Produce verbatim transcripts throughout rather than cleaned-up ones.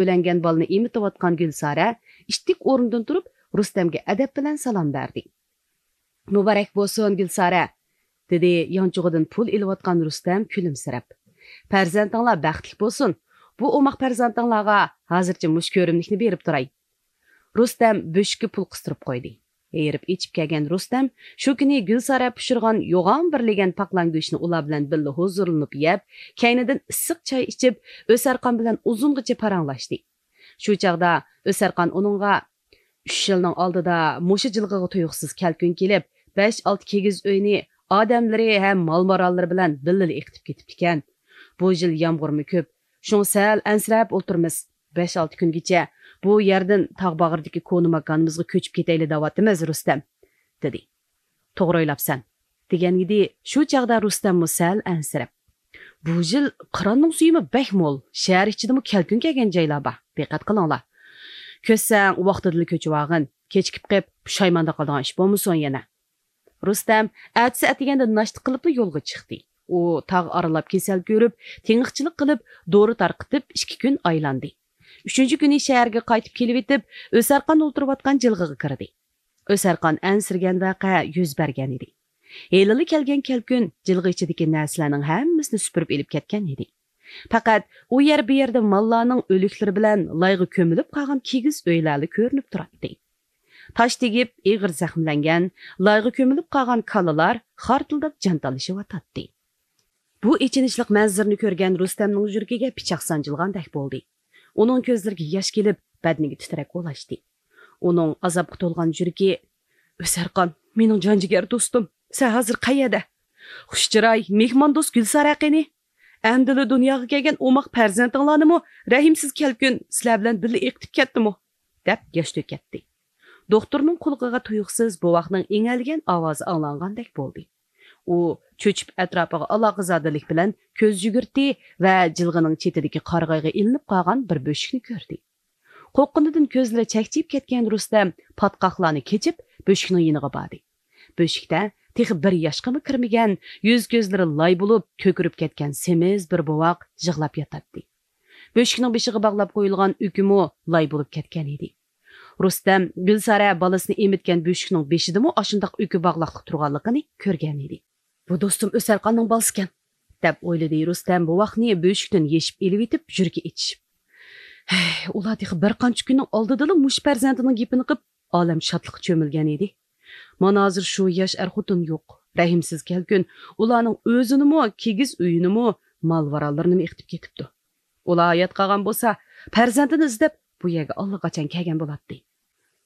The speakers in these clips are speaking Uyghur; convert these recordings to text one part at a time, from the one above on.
ئۆيلەنگەن بالىنى ئېمىتىۋاتقان گۈلسارە ئىتتىك ئورنىدىن تۇرۇپ، رۇستەمگە ئەدەپ بىلەن سالام بەردى. مۇبارەك بولسۇن، گۈلسارە، دېدى يانچۇقىدىن پۇل ئېلىۋاتقان رۇستەم كۈلۈمسىرەپ. پەرزەنتىڭلار بەختلىك بولسۇن. بۇ ئوماق پەرزەنتىڭلارغا ھازىرچە مۇشۇ كۆرۈملۈكنى بېرىپ تۇراي. رۇستەم بۆشۈككە پۇل قىستۇرۇپ قويدى. ھېرىپ ئېچىپ كەلگەن رۇستەم شۇ كۈنى گۈلسارە پىشۇرغان يوغان بىر لېگەن پاقلان گۆشىنى ئۇلار بىلەن بىللە ھۇزۇرلىنىپ يەپ، كەينىدىن ئىسسىق چاي ئىچىپ، ئۆسەرخان بىلەن ئۇزۇنغىچە پاراڭلاشتى. شۇ چاغدا ئۆسەرخان ئۇنىڭغا، «ئۈچ يىلنىڭ ئالدىدا مۇشۇ جىلغىغا تۇيۇقسىز كەلكۈن كېلىپ، بەش-ئالتە كىگىز ئۆينى ئادەملىرى ھەم مال-ماراللىرى بىلەن بىللىلا ئېقىتىپ كېتىپتىكەن. بۇ يىل يامغۇرمۇ كۆپ، شۇڭا سەل ئەنسىرەپ ئولتۇرىمىز. بەش-ئالتە كۈنگىچە بۇ يەردىن تاغ باغرىدىكى كونا ماكانىمىزغا كۆچۈپ كېتەيلى دەۋاتىمىز، رۇستەم» دېدى. «توغرا ئويلاپسەن» دېگەن ئىدى. شۇ چاغدا رۇستەممۇ سەل ئەنسىرەپ، «بۇ يىل قىراننىڭ سۈيىمۇ بەك مول، شەھەر ئىچىدىمۇ كەلكۈن كەلگەن جايلار بار، دىققەت قىلىڭلار. كۆچسەڭ ۋاقتىدىلا كۆچۈۋالغىن، كېچىكىپ قېلىپ پۇشايماندا قالىدىغان ئىش بولمىسۇن يەنە.» رۇستەم ئەتىسى ئەتىگەندە ناشتا قىلىپلا يولغا چىقتى. ئۇ تاغ ئارىلاپ كېسەل كۆرۈپ، تېڭىقچىلىق قىلىپ، دورا تارقىتىپ ئىككى كۈن ئايلاندى. ئۈچىنچى كۈنى شەھەرگە قايتىپ كېلىۋېتىپ، ئۆسەرخان ئولتۇرۇۋاتقان جىلغىغا كىردى. ئۆسەرخان ئەنسىرىگەن ۋەقە يۈز بەرگەن ئىدى. ھېلىلا كەلگەن كەلكۈن جىلغا ئىچىدىكى نەرسىلەرنىڭ ھەممىسىنى سۈپۈرۈپ ئېلىپ كەتكەن ئىدى. پەقەت ئۇ يەر بۇ يەردە ماللارنىڭ ئۆلۈكلىرى بىلەن لايغا كۆمۈلۈپ قالغان كىگىز ئۆيلەرلا كۆرۈنۈپ تۇراتتى. تاش تېگىپ ئېغىر زەخىملەنگەن، لايغا كۆمۈلۈپ قالغان كالىلار خارتىلداپ جان تالىشىۋاتاتتى. بۇ ئېچىنىشلىق مەنزىرىنى كۆرگەن رۇستەمنىڭ يۈرىكىگە پىچاق سانجىلغاندەك بولدى. ئۇنىڭ كۆزلىرىگە ياش كېلىپ، بەدىنىگە تىترەك ئولاشتى. ئۇنىڭ ئازابقا تولغان يۈرىكى، «ئۆسەرخان، مېنىڭ جان جىگەر دوستۇم، سەن ھازىر قەيەردە؟ خۇش چىراي، مېھماندوست گۈلسارە قېنى؟ ئەمدىلا دۇنياغا كەلگەن ئوماق پەرزەنتىڭلارنىمۇ رەھىمسىز كەلكۈن سىلەر بىلەن بىللە ئېقىتىپ كەتتىمۇ؟» دەپ ياش تۆكەتتى. دوختۇرنىڭ قۇلىقىغا تۇيۇقسىز بوۋاقنىڭ ئىڭەلىگەن ئاۋازى ئاڭلانغاندەك بولدى. ئۇ چۆچۈپ ئەتراپىغا ئالاقىزادىلىك بىلەن كۆز يۈگۈرتتى ۋە جىلغىنىڭ چېتىدىكى قارىغايغا ئىلىنىپ قالغان بىر بۆشۈكنى كۆردى. قورققىنىدىن كۆزلىرى چەكچىيىپ كەتكەن رۇستەم پاتقاقلارنى كېچىپ، بۆشۈكنىڭ يېنىغا باردى. بۆشۈكتە تېخى بىر ياشقىمۇ كىرمىگەن، يۈز-كۆزلىرى لاي بولۇپ، كۆكىرىپ كەتكەن سېمىز بىر بوۋاق يىغلاپ ياتاتتى. بۆشۈكنىڭ بېشىغا باغلاپ قويۇلغان ئۈكىمۇ لاي بولۇپ كەتكەن ئىدى. رۇستەم گۈلسارە بالىسىنى ئېمىتكەن بۆشۈكنىڭ بېشىدىمۇ ئاشۇنداق ئۈكى باغلاقلىق تۇرغانلىقىنى كۆرگەن ئىدى. «بۇ دوستۇم ئۆسەرخاننىڭ بالىسىكەن» دەپ ئويلىدى رۇستەم بوۋاقنى بۆشۈكتىن يېشىپ ئېلىۋېتىپ، يۈرىكى ئېچىشىپ. ھەي، ئۇلار تېخى بىر قانچە كۈننىڭ ئالدىدىلا مۇشۇ پەرزەنتىنىڭ گېپىنى قىپ، ئالەم شادلىققا چۆمۈلگەن ئىدى. مانا ھازىر شۇ ياش ئەر-خوتۇن يوق. رەھىمسىز كەلكۈن ئۇلارنىڭ ئۆزىنىمۇ، كىگىز ئۆيىنىمۇ، مال-ماراللىرىنىمۇ ئېقىتىپ كېتىپتۇ. ئۇلار ھايات قالغان بولسا، پەرزەنتىنى ئىزدەپ بۇ يەرگە ئاللىقاچان كەلگەن بولاتتى.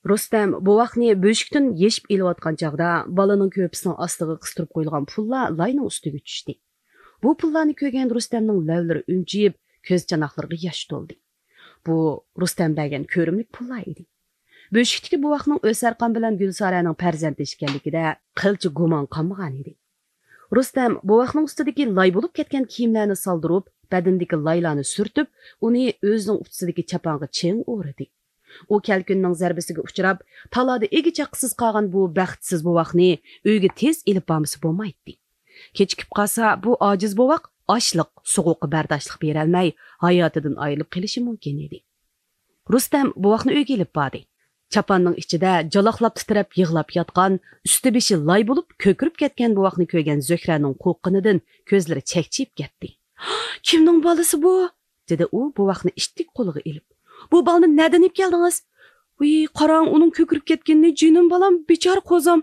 رۇستەم بوۋاقنى بۆشۈكتىن يېشىپ ئېلىۋاتقان چاغدا، بالىنىڭ كۆرپىسىنىڭ ئاستىغا قىستۇرۇپ قويۇلغان پۇللار لاينىڭ ئۈستىگە چۈشتى. بۇ پۇللارنى كۆرگەن رۇستەمنىڭ لەۋلىرى ئۈنچىيىپ، كۆز چاناقلىرىغا ياش تولدى. بۇ رۇستەم بەرگەن كۆرۈملۈك پۇللار ئىدى. بۆشۈكتىكى بوۋاقنىڭ ئۆسەرخان بىلەن گۈلسارەنىڭ پەرزەنتى ئىكەنلىكىدە قىلچە گۇمان قالمىغان ئىدى. رۇستەم بوۋاقنىڭ ئۈستىدىكى لاي بولۇپ كەتكەن كىيىملەرنى سالدۇرۇپ، بەدىنىدىكى لايلارنى سۈرتۈپ، ئۇنى ئۆزىنىڭ ئۇچىسىدىكى چاپانغا چىڭ ئورىدى. ئۇ كەلكۈننىڭ زەربىسىگە ئۇچراپ، تالادا ئىگە-چاقىسىز قالغان بۇ بەختسىز بوۋاقنى ئۆيگە تېز ئېلىپ بارمىسا بولمايتتى. كېچىكىپ قالسا، بۇ ئاجىز بوۋاق ئاچلىق، سوغۇققا بەرداشلىق بېرەلمەي، ھاياتىدىن ئايرىلىپ قېلىشى مۇمكىن ئىدى. رۇستەم بوۋاقنى ئۆيگە ئېلىپ باردى. چاپاننىڭ ئىچىدە جالاقلاپ تىترەپ يىغلاپ ياتقان، ئۈستى-بېشى لاي بولۇپ كۆكىرىپ كەتكەن بوۋاقنى كۆرگەن زۆھرەنىڭ قورققىنىدىن كۆزلىرى چەكچىيىپ كەتتى. «كىمنىڭ بالىسى بۇ؟» دېدى ئۇ بوۋاقنى ئىتتىك قولىغا ئېلىپ. «بۇ بالىنى نەدىن ئېلىپ كەلدىڭىز؟ ۋىي، قاراڭ ئۇنىڭ كۆكىرىپ كەتكىنىنى، جېنىم بالام، بىچارە قوزام.»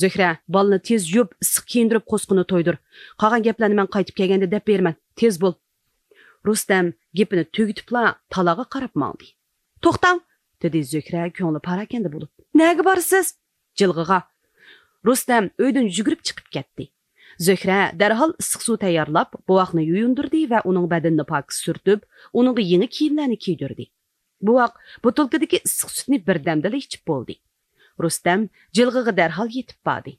«زۆھرە، بالىنى تېز يۇيۇپ، ئىسسىق كىيىندۈرۈپ، قوسىقىنى تويدۇر. قالغان گەپلەرنى مەن قايتىپ كەلگەندە دەپ بېرىمەن. تېز بول.» رۇستەم گېپىنى تۈگىتىپلا تالاغا قاراپ ماڭدى. «توختاڭ!» دېدى زۆھرە كۆڭلى پاراكەندە بولۇپ. «نەگە بارىسىز؟» «جىلغىغا.» رۇستەم ئۆيدىن يۈگۈرۈپ چىقىپ كەتتى. زۆھرە دەرھال ئىسسىق سۇ تەييارلاپ، بوۋاقنى يۇيۇندۇردى ۋە ئۇنىڭ بەدىنىنى پاكىز سۈرتۈپ، ئۇنىڭغا يېڭى كىيىملەرنى كىيدۈردى. بوۋاق بوتۇلكىدىكى ئىسسىق سۈتنى بىردەمدىلا ئىچىپ بولدى. رۇستەم جىلغىغا دەرھال يېتىپ باردى.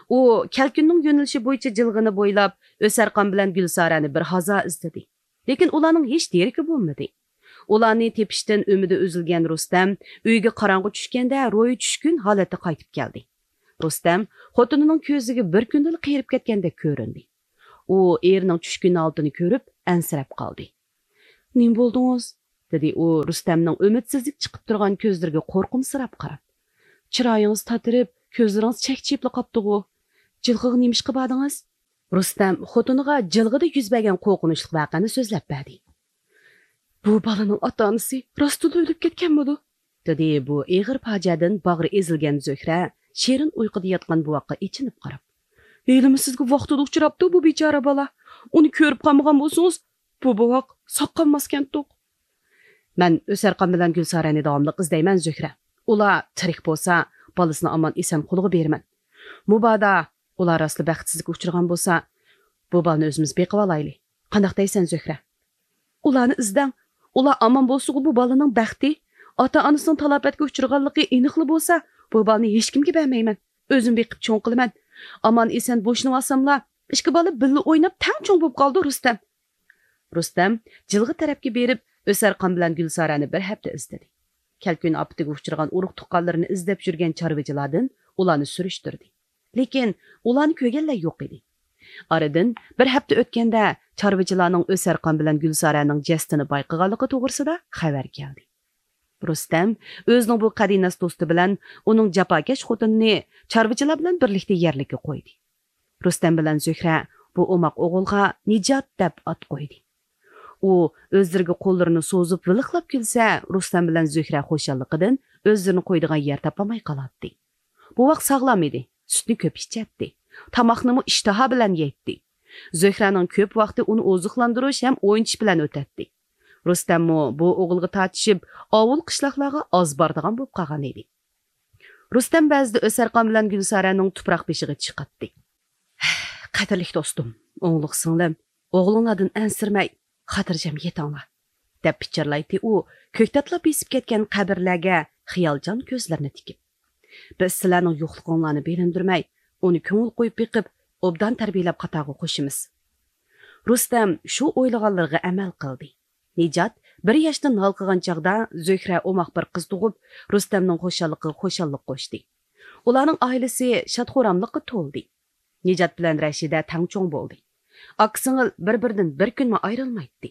ئۇ كەلكۈننىڭ يۆنىلىشى بويىچە جىلغىنى بويلاپ، ئۆسەرخان بىلەن گۈلسارەنى بىر ھازا ئىزدىدى. لېكىن ئۇلارنىڭ ھېچ دېرىكى بولمىدى. ئۇلارنى تېپىشتىن ئۈمىدى ئۈزۈلگەن رۇستەم ئۆيگە قاراڭغۇ چۈشكەندە روھى چۈشكۈن ھالەتتە قايتىپ كەلدى. رۇستەم خوتۇنىنىڭ كۆزىگە بىر كۈندىلا قېرىپ كەتكەندەك كۆرۈندى. ئۇ ئېرىنىڭ چۈشكۈن ھالىتىنى كۆرۈپ ئەنسىرەپ قالدى. «نېمە بولدىڭىز؟» دېدى ئۇ رۇستەمنىڭ ئۈمىدسىزلىك چىقىپ تۇرغان كۆزلىرىگە قورقۇمسىراپ قاراپ. چىرايىڭىز تاتىرىپ، كۆزلىرىڭىز چەكچىيىپلا قاپتىغۇ. جىلغىغا نېمىشقا باردىڭىز؟ رۇستەم خوتۇنىغا جىلغىدا يۈز بەرگەن قورقۇنچلۇق ۋەقەنى سۆزلەپ بەردى. بۇ بالىنىڭ ئاتا-ئانىسى راستتىنلا ئۆلۈپ كەتكەنمىدۇ؟ دېدى بۇ ئېغىر پاجىئەدىن باغرى ئېزىلگەن زۆھرە شېرىن ئۇيقۇدا ياتقان بوۋاققا ئېچىنىپ قاراپ. ھېلىمۇ سىزگە ۋاقتىدا ئۇچراپتۇ بۇ بىچارە بالا. ئۇنى كۆرۈپ قالمىغان بولسىڭىز، بۇ بوۋاق ساق قالماسكەنتۇق. مەن ئۆسەرخان بىلەن گۈلسارەنى داۋاملىق ئىزدەيمەن، زۆھرە. ئۇلار تىرىك بولسا، بالىسىنى ئامان-ئېسەن قولىغا بېرىمەن. مۇبادا ئۇلار راستلا بەختسىزلىككە ئۇچرىغان بولسا، بۇ بالىنى ئۆزىمىز بېقىۋالايلى. قانداق دەيسەن، زۆھرە؟ ئۇلارنى ئىزدەڭ. ئۇلار ئامان بولسىغۇ بۇ بالىنىڭ بەختى. ئاتا-ئانىسىنىڭ تالاپەتكە ئۇچرىغانلىقى ئېنىقلا بولسا، بۇ بالىنى ھېچكىمگە بەرمەيمەن. ئۆزۈم بېقىپ چوڭ قىلىمەن. ئامان-ئېسەن بوشىنىۋالساملا، ئىككى بالا بىللە ئويناپ تەڭ چوڭ بولۇپ قالىدۇ، رۇستەم. رۇستەم جىلغا تەرەپكە بېرىپ، ئۆسەرخان بىلەن گۈلسارەنى بىر ھەپتە ئىزدىدى. كەلكۈن ئاپىتىگە ئۇچرىغان ئۇرۇق-تۇغقانلىرىنى ئىزدەپ يۈرگەن چارۋىچىلاردىن ئۇلارنى سۈرۈشتۈردى. لېكىن ئۇلارنى كۆرگەنلەر يوق ئىدى. ئارىدىن بىر ھەپتە ئۆتكەندە، چارۋىچىلارنىڭ ئۆسەرخان بىلەن گۈلسارەنىڭ جەسىتىنى بايقىغانلىقى توغرىسىدا خەۋەر كەلدى. رۇستەم ئۆزىنىڭ بۇ قەدىناس دوستى بىلەن ئۇنىڭ جاپاكەش خوتۇنىنى چارۋىچىلار بىلەن بىرلىكتە يەرلىككە قويدى. رۇستەم بىلەن زۆھرە بۇ ئوماق ئوغۇلغا نىجات دەپ ئات قويدى. ئۇ ئۆزلىرىگە قوللىرىنى سوزۇپ ۋىلىقلاپ كۈلسە، رۇستەم بىلەن زۆھرە خۇشاللىقىدىن ئۆزلىرىنى قويىدىغان يەر تاپالماي قالاتتى. بوۋاق ساغلام ئىدى، سۈتنى كۆپ ئىچەتتى. تاماقنىمۇ ئىشتىها بىلەن يەيتتى. زۆھرەنىڭ كۆپ ۋاقتى ئۇنى ئوزۇقلاندۇرۇش ھەم ئوينىتىش بىلەن ئۆتەتتى. رۇستەممۇ بۇ ئوغۇلغا تارتىشىپ، ئاۋۇل قىشلاقلارغا ئاز بارىدىغان بولۇپ قالغان ئىدى. رۇستەم بەزىدە ئۆسەرخان بىلەن گۈلسارەنىڭ تۇپراق بېشىغا چىقاتتى. قەدىرلىك دوستۇم، ئوڭلۇق سىڭلىم، ئوغلۇڭلاردىن ئەنسىرىمەي، خاتىرجەم يېتىڭلار، دەپ پىچىرلايتتى ئۇ، كۆكتاتلا بېسىپ كەتكەن قەبرىلەرگە خىيالچان كۆزلىرىنى تىكىپ. بىز سىلەرنىڭ يوقلۇقۇڭلارنى بىلىندۈرمەي، ئۇنى كۆڭۈل قويۇپ بېقىپ، ئوبدان تەربىيەلەپ قاتارغا قوشىمىز. رۇستەم شۇ ئويلىغانلىرىغا ئەمەل قىلدى. نىجات بىر ياشتىن ھالقىغان چاغدا زۆھرە ئوماق بىر قىز تۇغۇپ، رۇستەمنىڭ خۇشاللىقىغا خۇشاللىق قوشتى. ئۇلارنىڭ ئائىلىسى شاد-خۇراملىققا تولدى. نىجات بىلەن رەشىدە تەڭ چوڭ بولدى. ئاكا-سىڭىل بىر-بىرىدىن بىر كۈنمۇ ئايرىلمايتتى.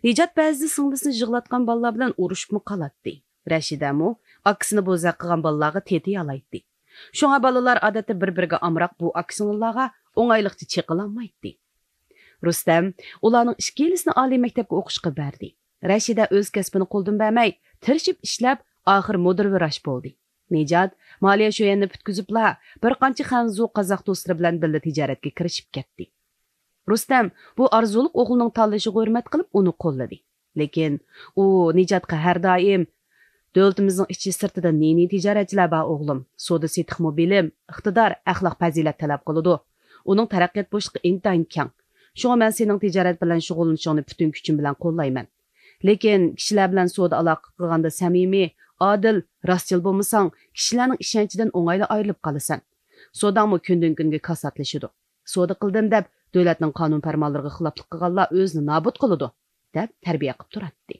نىجات بەزىدە سىڭلىسىنى يىغلاتقان بالىلار بىلەن ئۇرۇشۇپمۇ قالاتتى. رەشىدەمۇ ئاكىسىنى بوزەك قىلغان بالىلارغا تېتىيالايتتى. شۇڭا بالىلار ئادەتتە بىر-بىرىگە ئامراق بۇ ئاكا-سىڭىللارغا ئوڭايلىقچە چېقىلالمايتتى. رۇستەم ئۇلارنىڭ ئىككىلىسىنى ئالىي مەكتەپكە ئوقۇشقا بەردى. رەشىدە ئۆز كەسپىنى قولدىن بەرمەي، تىرىشىپ ئىشلەپ، ئاخىر مۇدىر ۋراچ بولدى. نىجات مالىيە شۆيەننى پۈتكۈزۈپلا، بىر قانچە خەنزۇ قازاق دوستلىرى بىلەن بىللە تىجارەتكە كىرىشىپ كەتتى. رۇستەم بۇ ئارزۇلۇق ئوغلىنىڭ تاللىشىغا ھۆرمەت قىلىپ، ئۇنى قوللىدى. لېكىن ئۇ نىجاتقا ھەر دائىم، «دۆلىتىمىزنىڭ ئىچى سىرتىدا نى-نى تىجارەتچىلەر بار، ئوغلۇم. سودا-سېتىقمۇ بىلىم، ئىقتىدار، ئەخلاق-پەزىلەت تەلەپ قىلىدۇ. ئۇنىڭ تەرەققىيات بوشلۇقى ئىنتايىن كەڭ. شۇڭا مەن سېنىڭ تىجارەت بىلەن شۇغۇللىنىشىڭنى پۈتۈن كۈچۈم بىلەن قوللايمەن. لېكىن كىشىلەر بىلەن سودا-ئالاقە قىلغاندا سەمىمىي، ئادىل، راستچىل بولمىساڭ، كىشىلەرنىڭ ئىشەنچىدىن ئوڭايلا ئايرىلىپ قالىسەن. سوداڭمۇ كۈندىن-كۈنگە كاساتلىشىدۇ. سودا قىلدىم دەپ، دۆلەتنىڭ قانۇن-پەرمانلىرىغا خىلاپلىق قىلغانلار ئۆزىنى نابۇت قىلىدۇ» دەپ تەربىيە قىلىپ تۇراتتى.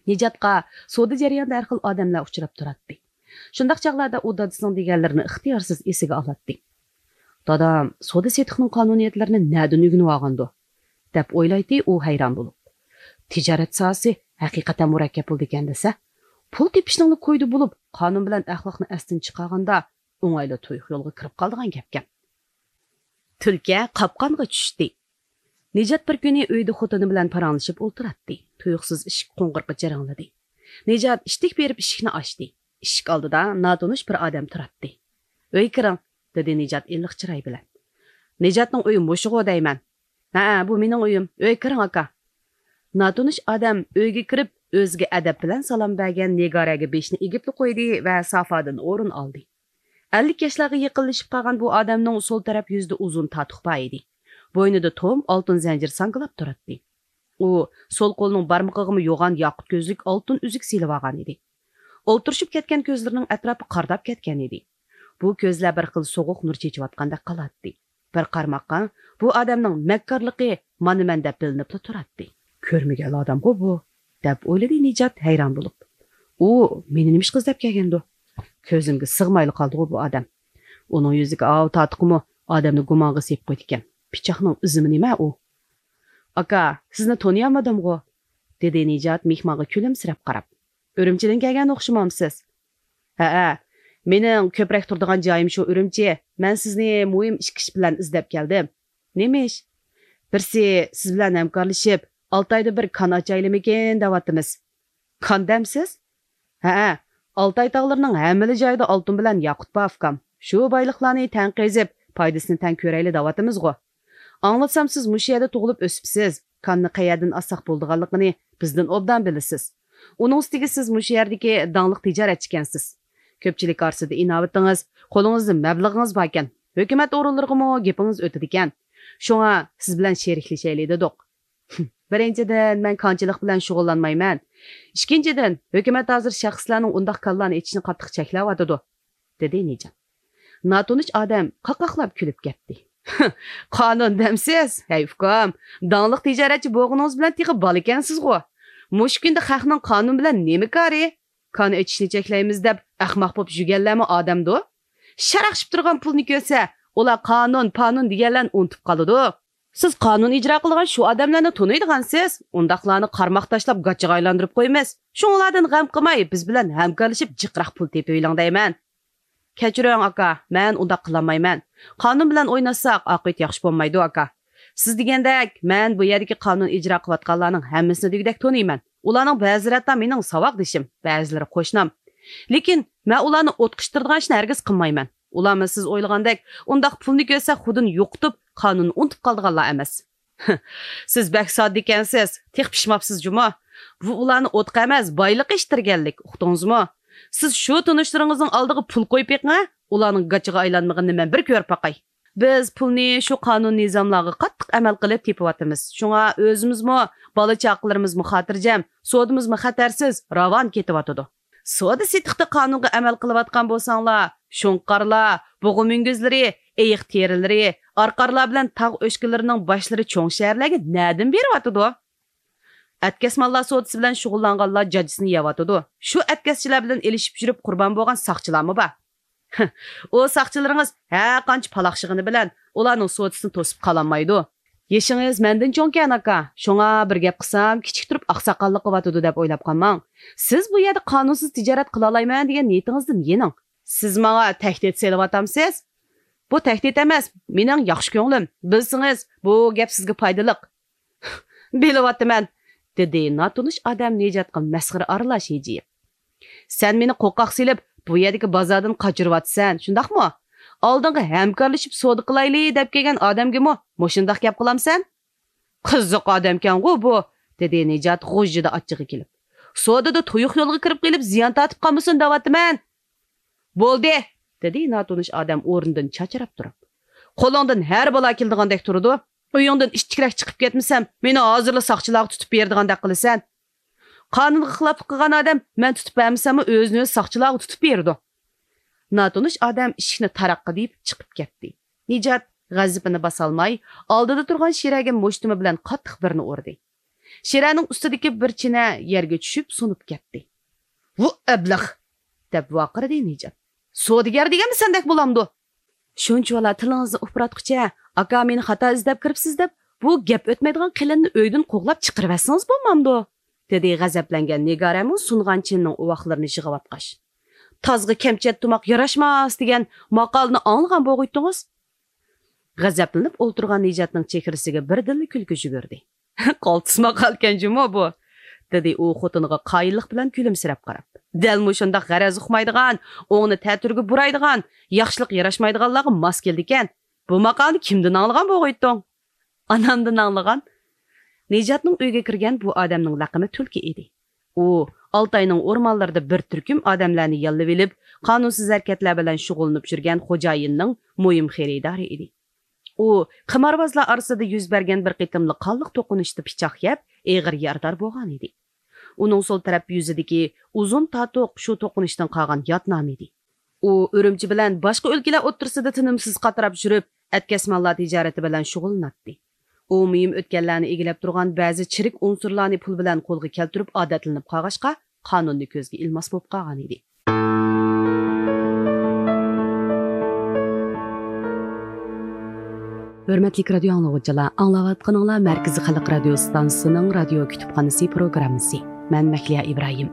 نىجاتقا سودا جەريانىدا ھەر خىل ئادەملەر ئۇچراپ تۇراتتى. شۇنداق چاغلاردا ئۇ دادىسىنىڭ دېگەنلىرىنى ئىختىيارسىز ئېسىگە ئالاتتى. «دادام سودا-سېتىقنىڭ قانۇنىيەتلىرىنى نەدىن ئۆگىنىۋالغاندۇ؟» دەپ ئويلايتتى ئۇ ھەيران بولۇپ. «تىجارەت ساھەسى ھەقىقەتەن مۇرەككەپ بولىدىكەن دېسە، پۇل تېپىشنىڭلا كويىدا بولۇپ، قانۇن بىلەن ئەخلاقنى ئەستىن چىقارغاندا، ئوڭايلا تۇيۇق يولغا كىرىپ قالىدىغان گەپكەن.» تۈلكە قاپقانغا چۈشتى. نىجات بىر كۈنى ئۆيدە خوتۇنى بىلەن پاراڭلىشىپ ئولتۇراتتى. تۇيۇقسىز ئىشىك قوڭغۇرىقى جىرىڭلىدى. نىجات ئىتتىك بېرىپ ئىشىكنى ئاچتى. ئىشىك ئالدىدا ناتونۇش بىر ئادەم تۇراتتى. «ئۆيگە كىرىڭ» دېدى نىجات ئىللىق چىراي بىلەن. «نىجاتنىڭ ئۆيى مۇشۇغۇ دەيمەن.» «ھەئە، بۇ مېنىڭ ئۆيۈم. ئۆيگە كىرىڭ، ئاكا.» ناتونۇش ئادەم ئۆيگە كىرىپ، ئۆزىگە ئەدەپ بىلەن سالام بەرگەن نىگارەگە بېشىنى ئېگىپلا قويدى ۋە سافادىن ئورۇن ئالدى. ئەللىك ياشلارغا يېقىنلىشىپ قالغان بۇ ئادەمنىڭ سول تەرەپ يۈزىدە ئۇزۇن تاتۇق بار ئىدى. بوينىدا توم ئالتۇن زەنجىر ساڭگىلاپ تۇراتتى. ئۇ سول قولىنىڭ بارمىقىغىمۇ يوغان ياقۇت كۆزلۈك ئالتۇن ئۈزۈك سېلىۋالغان ئىدى. ئولتۇرۇشۇپ كەتكەن كۆزلىرىنىڭ ئەتراپى قارداپ كەتكەن ئىدى. بۇ كۆزلەر بىر خىل سوغۇق نۇر چېچىۋاتقاندەك قالاتتى. بىر قارىماققا بۇ ئادەمنىڭ مەككارلىقى مانا مەن دەپ بىلىنىپلا تۇراتتى. «كۆرمىگەن ئادەمغۇ بۇ» دەپ ئويلىدى نىجات ھەيران بولۇپ. «ئۇ مېنى نېمە ئىشقا ئىزدەپ كەلگەندۇ؟ كۆزۈمگە سىغمايلا قالدىغۇ بۇ ئادەم. ئۇنىڭ يۈزىدىكى ئاۋۇ تاتۇقىمۇ ئادەمنى گۇمانغا سېلىپ قويىدىكەن. پىچاقنىڭ ئىزىمۇ نېمە ئۇ؟» «ئاكا، سىزنى تونۇيالمىدىمغۇ؟» دېدى نىجات مېھمانغا كۈلۈمسىرەپ قاراپ. ئۈرۈمچىدىن كەلگەن ئوخشىمامسىز؟ ھەئە، مېنىڭ كۆپرەك تۇرىدىغان جايىم شۇ ئۈرۈمچى. مەن سىزنى مۇھىم ئىككى ئىش بىلەن ئىزدەپ كەلدىم. نېمە ئىش؟ بىرسى، سىز بىلەن ھەمكارلىشىپ، ئالتە ئايدا بىر كان ئاچايلىمىكىن دەۋاتىمىز. كان دەمسىز؟ ھەئە، ئالتاي تاغلىرىنىڭ ھەممىلا جايىدا ئالتۇن بىلەن ياقۇت بار، ئۇكام. شۇ بايلىقلارنى تەڭ قېزىپ، پايدىسىنى تەڭ كۆرەيلى دەۋاتىمىزغۇ. ئاڭلىسام، سىز مۇشۇ يەردە تۇغۇلۇپ ئۆسۈپسىز. كاننى قەيەردىن ئالساق بولىدىغانلىقىنى بىزدىن ئوبدان بىلىسىز. ئۇنىڭ ئۈستىگە سىز مۇشۇ يەردىكى داڭلىق تىجارەتچىكەنسىز. كۆپچىلىك ئارىسىدا ئىناۋىتىڭىز، قولىڭىزدا مەبلىغىڭىز باركەن. ھۆكۈمەت ئورۇنلىرىغىمۇ گېپىڭىز ئۆتىدىكەن. شۇڭا سىز بىلەن شېرىكلىشەيلى دېدۇق. بىرىنچىدىن، مەن كانچىلىق بىلەن شۇغۇللانمايمەن. ئىككىنچىدىن، ھۆكۈمەت ھازىر شەخسلەرنىڭ ئۇنداق كانلارنى ئېچىشنى قاتتىق چەكلەۋاتىدۇ، دېدى نىجات. ناتونۇش ئادەم قاقاقلاپ كۈلۈپ كەتتى. قانۇن دەمسىز؟ ھەي ئۇكام، داڭلىق تىجارەتچى بولغىنىڭىز بىلەن تېخى بالىكەنسىزغۇ. مۇشۇ كۈندە خەقنىڭ قانۇن بىلەن نېمە كارى؟ كان ئېچىشنى چەكلەيمىز دەپ ئەخمەق بولۇپ يۈرگەنلەرمۇ ئادەمدۇ؟ شەرەق ئىشىپ تۇرغان پۇلنى كۆرسە، ئۇلار قانۇن، پانۇن دېگەنلەرنى ئۇنتۇپ قالىدۇ. سىز قانۇن ئىجرا قىلىدىغان شۇ ئادەملەرنى تونۇيدىغانسىز. ئۇنداقلارنى قارماق تاشلاپ گاچىغا ئايلاندۇرۇپ قويىمىز. شۇڭلاردىن غەم قىلماي، بىز بىلەن ھەمكارلىشىپ جىقراق پۇل تېپىۋېلىڭ دەيمەن. كەچۈرۈڭ ئاكا، مەن ئۇنداق قىلالمايمەن. قانۇن بىلەن ئويناشساق ئاقىۋىتى ياخشى بولمايدۇ ئاكا. سىز دېگەندەك، مەن بۇ يەردىكى قانۇن ئىجرا قىلىۋاتقانلارنىڭ ھەممىسىنى دېگۈدەك تونۇيمەن. ئۇلارنىڭ بەزىلىرى ھەتتا مېنىڭ ساۋاقدىشىم، بەزىلىرى قوشنام. لېكىن مەن ئۇلارنى ئوتقا ئىتتىرىدىغان ئىشنى ھەرگىز قىلمايمەن. ئۇلارمۇ سىز ئويلىغاندەك ئۇنداق پۇلنى كۆرسە خۇدىنى يوقىتىپ، قانۇننى ئۇنتۇپ قالىدىغانلار ئەمەس. سىز بەك ساددىكەنسىز، تېخى پىشماپسىز جۇمۇ. بۇ ئۇلارنى ئوتقا ئەمەس، بايلىققا ئىتتىرگەنلىك، ئۇقتىڭىزمۇ؟ سىز شۇ تونۇشلىرىڭىزنىڭ ئالدىغا پۇل قويۇپ بېقىڭ، ئۇلارنىڭ گاچىغا ئايلانمىغىنىنى مەن بىر كۆرۈپ باقاي. بىز پۇلنى شۇ قانۇن نىزاملارغا قاتتىق ئەمەل قىلىپ تېپىۋاتىمىز. شۇڭا ئۆزىمىزمۇ، بالا چاقىلىرىمىزمۇ خاتىرجەم، سودىمىزمۇ خەتەرسىز، راۋان كېتىۋاتىدۇ. سودا سېتىقتا قانۇنغا ئەمەل قىلىۋاتقان بولساڭلار، شۇڭقارلار، بۇغا مۈڭگۈزلىرى، ئېيىق تېرىلىرى، ئارقارلار بىلەن تاغ ئۆچكىلىرىنىڭ باشلىرى چوڭ شەھەرلەرگە نەدىن بېرىۋاتىدۇ؟ ئەتكەس ماللار سودىسى بىلەن شۇغۇللانغانلار جاجىسىنى يەۋاتىدۇ. شۇ ئەتكەسچىلەر بىلەن ئېلىشىپ يۈرۈپ قۇربان بولغان ساقچىلارمۇ بار. ئۇ ساقچىلىرىڭىز ھەر قانچە پالاقشىغىنى بىلەن ئۇلارنىڭ سودىسىنى توسۇپ قالالمايدۇ. يېشىڭىز مەندىن چوڭكەن، ئاكا. شۇڭا بىر گەپ قىلسام، كىچىك تۇرۇپ ئاقساقاللىق قىلىۋاتىدۇ دەپ ئويلاپ قالماڭ. سىز بۇ يەردە قانۇنسىز تىجارەت قىلالايمەن دېگەن نىيىتىڭىزدىن يېنىڭ. سىز ماڭا تەھدىت سېلىۋاتامسىز؟ بۇ تەھدىت ئەمەس، مېنىڭ ياخشى كۆڭلۈم. بىلسىڭىز، بۇ گەپ سىزگە پايدىلىق. بىلىۋاتىمەن، دېدى ناتونۇش ئادەم نىجاتقا مەسخىرە ئارىلاش ھىجىيىپ. سەن مېنى قورقاق سېلىپ، بۇ يەردىكى بازاردىن قاچۇرۇۋاتىسەن، شۇنداقمۇ؟ ئالدىڭغا ھەمكارلىشىپ سودا قىلايلى دەپ كەلگەن ئادەمگىمۇ مۇشۇنداق گەپ قىلامسەن؟ قىزىق ئادەمكەنغۇ بۇ، دېدى نىجات غۇژژىدە ئاچچىقى كېلىپ. سودىدا تۇيۇق يولغا كىرىپ قېلىپ زىيان تارتىپ قالمىسۇن دەۋاتىمەن. بولدى، دېدى ناتونۇش ئادەم ئورنىدىن چاچراپ تۇرۇپ. قولۇڭدىن ھەر بالا كېلىدىغاندەك تۇرىدۇ. ئۆيۈڭدىن ئىتتىكرەك چىقىپ كەتمىسەم، مېنى ھازىرلا ساقچىلارغا تۇتۇپ بېرىدىغاندەك قىلىسەن. قانۇنغا خىلاپلىق قىلغان ئادەم مەن تۇتۇپ بەرمىسەممۇ ئۆزىنى ئۆزى ساقچىلارغا تۇتۇپ بېرىدۇ. ناتونۇش ئادەم ئىشىكنى تاراققا دېيىپ چىقىپ كەتتى. نىجات غەزىپىنى باسالماي، ئالدىدا تۇرغان شىرەگە مۇشتۇمى بىلەن قاتتىق بىرنى ئۇردى. شىرەنىڭ ئۈستىدىكى بىر چىنە يەرگە چۈشۈپ سۇنۇپ كەتتى. ۋۇ ئەبلەخ! دەپ ۋارقىرىدى نىجات. سودىگەر دېگەنمۇ سەندەك بولامدۇ؟ شۇنچىۋالا تىلىڭىزنى ئۇپراتقۇچە، ئاكا مېنى خاتا ئىزدەپ كىرىپسىز دەپ، بۇ گەپ ئۆتمەيدىغان قېلىننى ئۆيدىن قوغلاپ چىقىرىۋەتسىڭىز بولمامدۇ؟ دېدى غەزەپلەنگەن نىگارەمۇ سۇنغان چىنىنىڭ ئۇۋاقلىرىنى يىغىۋاتقاچ. تازغا كەمچەت تۇماق ياراشماس دېگەن ماقالىنى ئاڭلىغان بولغۇيتتىڭىز. غەزەپلىنىپ ئولتۇرغان نىجاتنىڭ چېھرىسىگە بىردىنلا كۈلكە يۈگۈردى. قالتىس ماقالىكەن جۇمۇ بۇ، دېدى ئۇ خوتۇنىغا قايىللىق بىلەن كۈلۈمسىرەپ قاراپ. دەل مۇشۇنداق غەرەز ئۇقمايدىغان، ئوڭنى تەتۈرگە بۇرايدىغان، ياخشىلىق ياراشمايدىغانلارغا ماس كېلىدىكەن. بۇ ماقالىنى كىمدىن ئاڭلىغان بولغۇيتتۇڭ؟ ئانامدىن ئاڭلىغان. نىجاتنىڭ ئۆيىگە كىرگەن بۇ ئادەمنىڭ لەقىمى تۈلكە ئىدى. ئۇ ئالتاينىڭ ئورمانلىرىدا بىر تۈركۈم ئادەملەرنى ياللىۋېلىپ، قانۇنسىز ھەرىكەتلەر بىلەن شۇغۇللىنىپ يۈرگەن خوجايىننىڭ مۇھىم خېرىدارى ئىدى. ئۇ قىماربازلار ئارىسىدا يۈز بەرگەن بىر قېتىملىق قانلىق توقۇنۇشتا پىچاق يەپ، ئېغىر يارىدار بولغانىدى. ئۇنىڭ سول تەرەپ يۈزىدىكى ئۇزۇن تاتۇق شۇ توقۇنۇشتىن قالغان يات نامى ئىدى. ئۇ ئۈرۈمچى بىلەن باشقا ئۆلكىلەر ئوتتۇرىسىدا تىنىمسىز قاتراپ يۈرۈپ، ئەتكەس ماللار تىجارىتى بىلەن شۇغۇللىناتتى. ئۇ مۇھىم ئۆتكەللەرنى ئىگىلەپ تۇرغان بەزى چىرىك ئۇنسۇرلارنى پۇل بىلەن قولغا كەلتۈرۈپ ئادەتلىنىپ قالغاچقا، قانۇننى كۆزگە ئىلماس بولۇپ قالغانىدى. ھۆرمەتلىك رادىيو ئاڭلىغۇچىلار، ئاڭلاۋاتقىنىڭلار مەركىزىي خەلق رادىيو ئىستانسىسىنىڭ رادىيو كۇتۇپخانىسى پروگراممىسى. مەن مەھلىيا ئىبراھىم.